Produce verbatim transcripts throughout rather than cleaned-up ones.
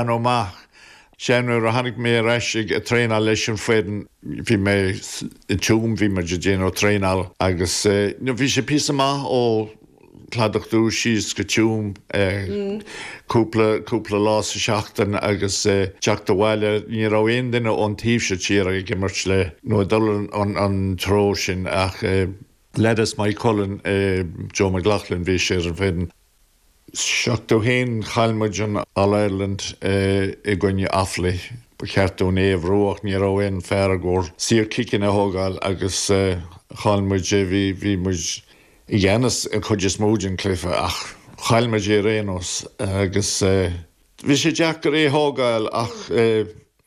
Amach. Sé nuair a tháinig mé ar ais ag traenáil leis an foireann bhí mé i Tuaim bhí muid ag déanamh traenáil agus no bhí sé píosa maith ó Cladach Dubh síos go Tuaim cúpla cúpla lá sa seachtain agus teacht abhaile ní raibh aon duine ón taobh seo tíre ag imirt le nó dul an an treo sin ach leaid as Maigh Cuilinn Joe McLaughlin bhí sé ar an bhfoireann. Seachtó haon chaill muid an All Ireland i gcoinne Offaly ba cheart dúinn é a bhuachan ní raibh aon fear i gcomhair saorchiceanna a thógáil agus chaill muid é bhí bhí muid i gceannas an chuid is mó den cluiche ach chaill muid é ar aon nós agus bhí sé deacair é thógáil ach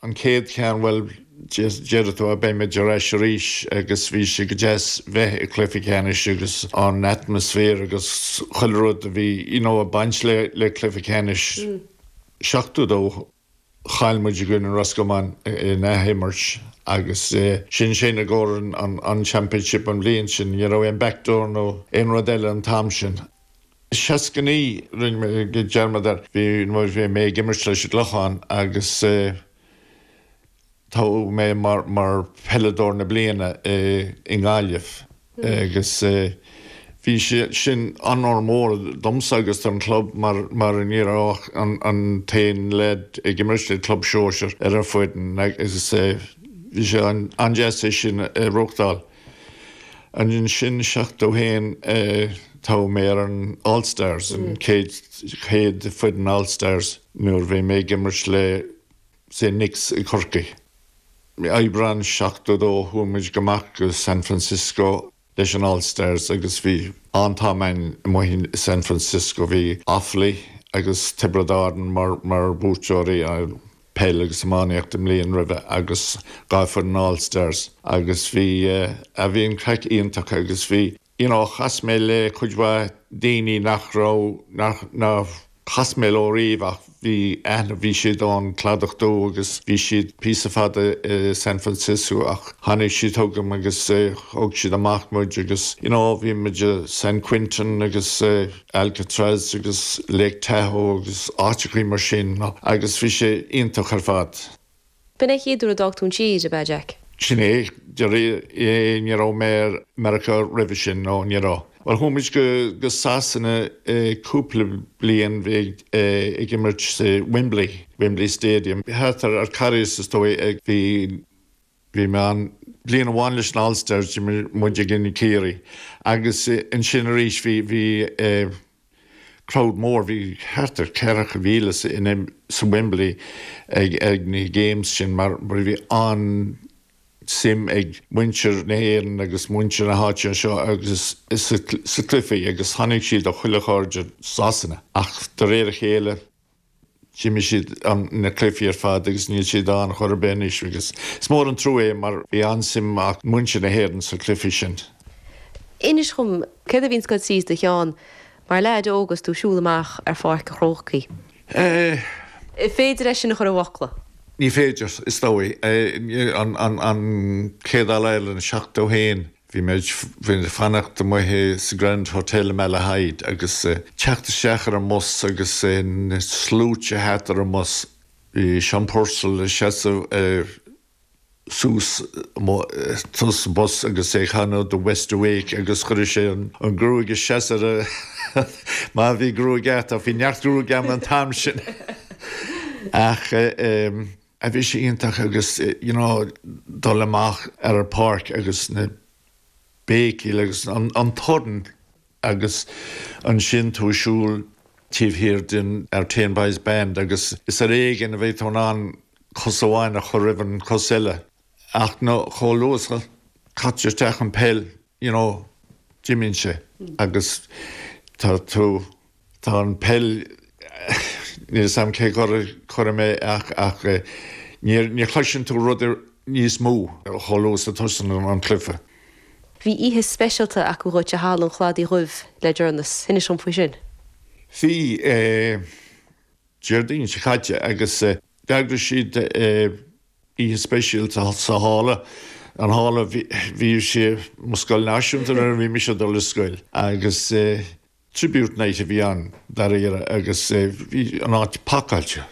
an chéad cheann bhuel deir tú beimid ar ais arís agus bhí sé go deas bheith i cluiche ceannais agus an atmaisféar agus chuile rud a bhí you know, ag baint le le cluiche ceannais. Seachtó dó chaill muid i gcoinne Roscommon in athimirt agus sin sin i gcomhair an, an championship an bhliain sin, ní raibh aon backdoor nó aon rud eile an t-am sin. Seasca naoi rinne mé dearmad air bhí bhí mé ag imirt leis an gClochán agus toghadh mé mar mar peileadóir na bliana i nGaillimh agus bhí sé sin onóir mór domsa agus don club mar mar ní raibh an an t-aon leaid ag imirt le club sóisir ar an foireann agus bhí sé an an-deas é sin a reáchtáil. Ansin seachtó haon toghadh mé ar an All Stars an chéad chéad foireann All Stars nuair bhí mé ag imirt le St Nicks i Corcaigh. Aibreán seachtó dó chuaigh muid go amach go San Francisco leis an All Stars agus bhí an-am amuigh i San Francisco bhí Offaly agus Tiobraid Árann mar mar buaiteoirí peil agus iománaíocht i mbliain roimhe agus dhá foireann All Stars agus bhí a bhí an craic iontach agus bhí you know, chas mé le cuid mhaith daoine nach raibh nach nach chas mé leo riamh ach bhí aithne bhí siad ón Cladach Dubh agus bhí siad píosa fada i San Francisco ach tháinig siad chugam agus thug siad amach muid agus you know, bhí muid San Quentin agus Alcatraz agus Lake Tahoe agus áiteachaí mar sin agus bhí sé iontach ar fad. B'in é an chéad uair a d'fhág tú an tír ab ea Jack. Sin é ní raibh mé Meiriceá roimhe sin nó ní raibh. Well chuaigh muid go go Sasana cúpla bliain bhí ag imirt sa Wembley, Wembley Stadium. Thart ar Carys is dóigh ag bhí bhí mé an bliain amháin leis an All Stars muid ag in Ciarraí. Agus ansin arís bhí bhí crowd mór bhí thart ar ceathracha míle in sa Wembley ag ag na games sin mar mar bhí an suim ag muintir na hÉireann agus muintir na háite seo agus sa cluiche agus tháinig siad ó chuile cheard Sasana ach de réir a chéile d'imigh siad na cluichí ar fad agus níl siad ann chor ar bith anois agus is mór an trua é mar bhí an-suim ag muintir na hÉireann sa cluiche sin. Inis dom céard a bhíonn ag goil síos do cheann mar leaid óg agus tú ag siúl amach ar Pháirc an Chrócaigh. Eh, Féidir é sin a chur i bhfocla. Ní féidir is dóigh an an chéad All Ireland seachtó haon bhí mé ag fanacht amuigh sa Grand Hotel i Malahide agus teacht isteach ar an mbus agus na sluaite thart ar an mbus. Bhí Sean Purcell seasamh suas tús bus agus é ag canadh The West Awake agus chuir sé an gruaig isteach ar má bhí gruaig agat bhí neart gruaig agam an t-am sin. Ach a bhí sé iontach agus you know, dul amach ar an páirc agus na béicíl agus an, an torann agus ansin tú ag siúl taobh thiar den Artane Boys Band agus is ar éigean a bheith tú in ann cos amháin a chur roimh an cos eile. Ach nó chomh luath caitear isteach an peil you know, d'imíonn sé agus tá tú tá an peil níl a fhios agam cé gur chuir mé ach ach ní chloiseann tú rud níos mó chomh luath a tosaíonn an cluiche. Bhí oíche speisialta acu dhuit i Halla an Chladaigh Dhuibh le deireanas, inis dom faoi sin. Bhí Déardaoin seo caite agus d'eagraigh siad oíche speisialta sa halla. An halla bhí sé mo scoil náisiúnta nuair a bhí mise ag dul ar scoil agus tribute night a bhí ann dáiríre agus bhí an áit pacáilte.